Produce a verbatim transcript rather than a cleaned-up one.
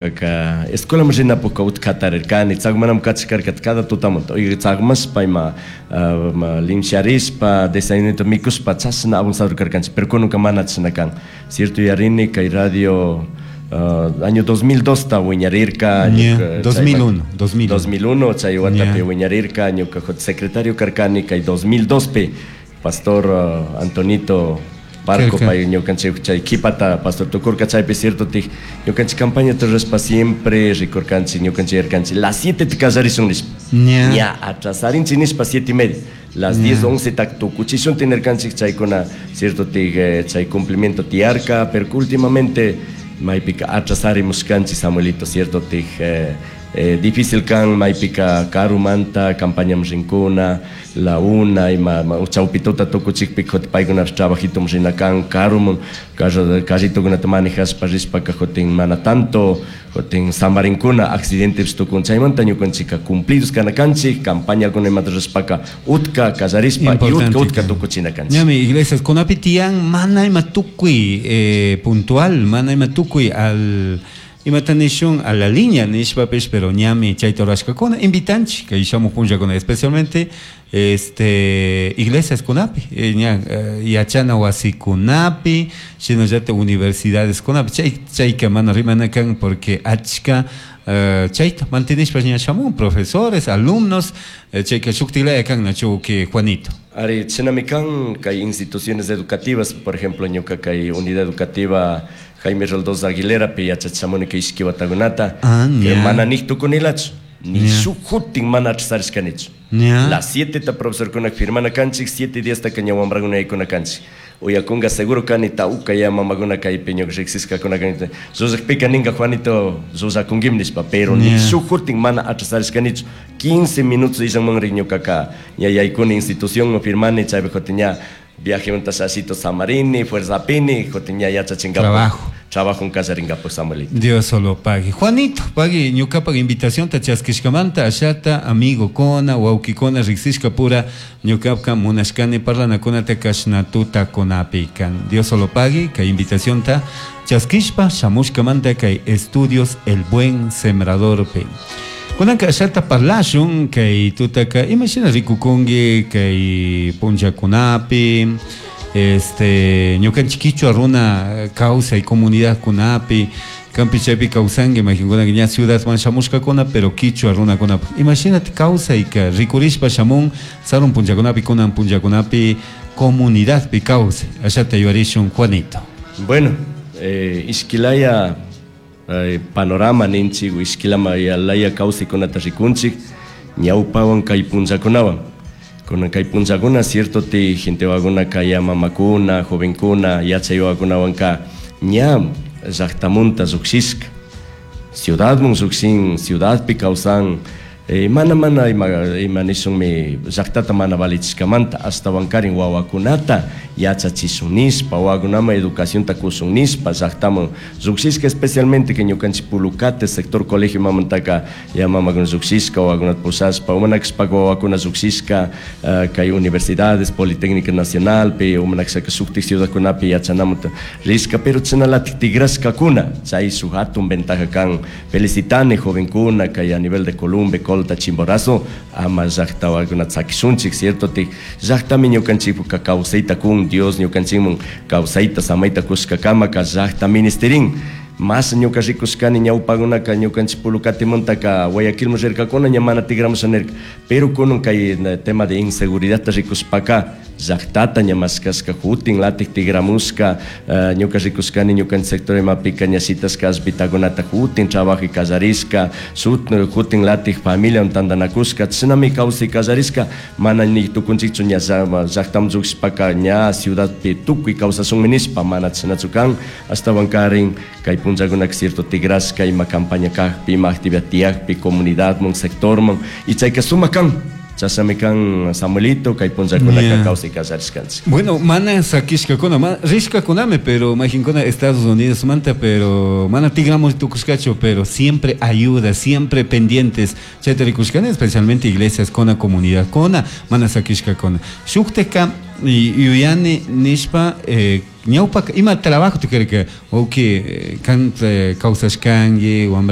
Ka escuela rinapukka utka hatarirkani tsakmanami kachkarka cada tutamanta tsakmashpa ima limsharishpa desayunita mikushpa chashna avanzado karkanchik, pero kunanka mana chashna kan. Cierto, yuyarini kay radio uh, año dos mil dos ta wiñarirka. Yeah, dos mil uno, dos mil uno. dos mil uno chay watapi wiñarirka, ñuka secretario karkani kay dos mil dos pi pastor uh, Antonito Barco pay ñukanchik chay kipata pastor tukurka. Chaypi cierto tik ñukanchik campaña rurashpa siempre rikurkanchik, ñukanchik yarkanchik las siete te kallarishun nishpa, ña atrasarinchik nishpa siete y media, las diez, once tak tukuchishun tinirkanchik. Chaykuna cierto tik eh, chay cumplimiento tiyarka, pero últimamente maypika atrasarimushkanchik, Samuelito. Cierto tik eh, eh, difícil kan maypika karumanta campaña rinkuna la una ima chawpituta tukuchikpi paykuna trabajito rina kan karuman, carritokunata manejashpa rishpaka kutin mana tanto kutin samarinkuna, accidentes tukun. Chaymanta ñukanchika cumplidos kana kanchik campañakuna imata rishpaka utka kallarishpa y utka utka tukuchina kanchik. Ñami iglesias kunapi tiyan mana ima tukuy eh, puntual, mana ima tukuy al imata nishun a la línea nishpapish, pero ñami chayta rurashkakuna. Invitanchik kay shamuj punllakuna, especialmente este iglesias kunapi eh, ña eh, yachana wasikunapi, shinallatak universidades kunapi. Chay chayka mana rimana kan porque achka uh, chayta mantenishpa ña shamun profesores, alumnos, eh, chayka shuktilaya kan, nachu que Juanito? Ari, shinami kan kay instituciones educativas, por ejemplo, ñuka kay unidad educativa Jaime Roldós Aguilera pi yachachishamuni kay ishki watakunata, Ah, que ña. mana nik tukunilachu ni Ña. shuk kutin mana atrasarishkanichu. Ña. Las siete ta profesorkuna firmana kanchik, siete diez ta ña wambrakuna yaykuna kanchik. Uyakunga seguro kani tawka ya mamakuna kaypi ñuka riksishkakuna kani rurashpika ninga "Juanito, rurakunkim" nishpa, pero ni Ña. shuk kutin mana atrasarishkanichu. quince minutos illanman ñukaka ña yaykuni institución, firmani, chaypi kutin ña viaje shashito samarini, fuerza pini, kutin ña yachachinkapak. Trabajo. Trabajo kallarinkapak, Samuelito. Dios solo pague. Juanito, pague ñukapak invitación ta chaskishkamanta ashata amigo kona, wawkikuna riksishka pura ñukapka munashkani parlanakunata kashna tuta kunapi kan. Dios solo pague kay invitación ta chaskishpa shamushkamanta kay estudios El Buen Sembrador pe. Kunanka ashata parlashun kay tutaka imashina rikukunki kay punllakunapi este ñukanchik kichwa runa kawsay comunidad kunapi. Kampi chaypi kawsanki, imaginkuna ña ciudadman shamushkakuna, pero kichwa runakunapi imashinati kawsayka rikurishpa shamun sarun punllakunapi, kunan punllakunapi comunidadpi kawsay? Ashata yuyarishun, Juanito. Bueno, eh, ishkilaya eh, panorama ninchik, ishkilama laya kawsaykunata rikunchik ñawpawan kay punllakunawan. Kunan kay punllakuna cierto ti gente waguna kaya mamakuna, jovenkuna, yachaywakunawanka ña llaqtamunta lluqshishka ciudadman lluqshin, ciudadpi kawsan, eh, mana mana ima, ima nishunmi llaqtata mana valichishkamanta, ashtawankarin wawakunata yachachishun nishpa, wawakunaman educacionta kushun nishpa llaqtaman lluqshishka, especialmente que ñukanchik Pulucate sector colegio mamantaka ya mamakuna lluqshishka wawakunata pushashpa, umanakashpaka wawakuna lluqshishka uh, kay universidades, Politécnica Nacional pi, umanakashaka shuktik ciudadkunapi yachanamunta rishka, pero chashnalatik tigrashkakuna. Chay shuk hatun ventaja kan. Felicitani jovenkuna kay a nivel de Columbe, Colta, Chimborazo, ama llaqta wawakunata sakishunchik. Cierto tik llaqtami ñukanchikpuka kawsayta kun. Dios ñukanchikman kawsayta samayta kushkakamaka llaqta ministerin. Mas ñuka rikushkani ñawpakunaka ñukanchik Pulucatimantaka Guayaquilman rirkakuna, ña mana tigramusha nirka, pero kunan kay tema de inseguridad rikushpaka llaqtata ña mashkashka kutin latik tigramushka. uh, ñuka rikushkani ñukanchik sector imapika ña shitashka ashpitakunata kutin trabajo kallarishka, sut kutin latik familia tantanakushka, chashnami kawsay kallarishka. Mana ni tukunchikchu ña llaqtaman llukshishpaka ña ciudadpi tukuy kawsashunmi nishpa, mana chashnachu kan. Ashtawankarin kay punllakunaka cierto tigrashka ima campaña kakpi, ima actividad tiyakpi comunidadman, sectorman, y chayka sumak kan. Chashnami kan, Samuelito, kay punllakunaka Yeah. kawsay kallarishkanchik. Bueno, mana sakishkakuna, ma, rishkakunami, pero mayqinkuna Estados Unidos manta, pero mana tigramos tukushkachu, pero siempre ayuda, siempre pendientes. Chayta rikushkani, especialmente iglesias kona, comunidad kona, mana sakishkakuna. Shukteka y yuyani nishpa eh, Ñawpaka ima trabajo karka wawki kan kawsashkanki wambra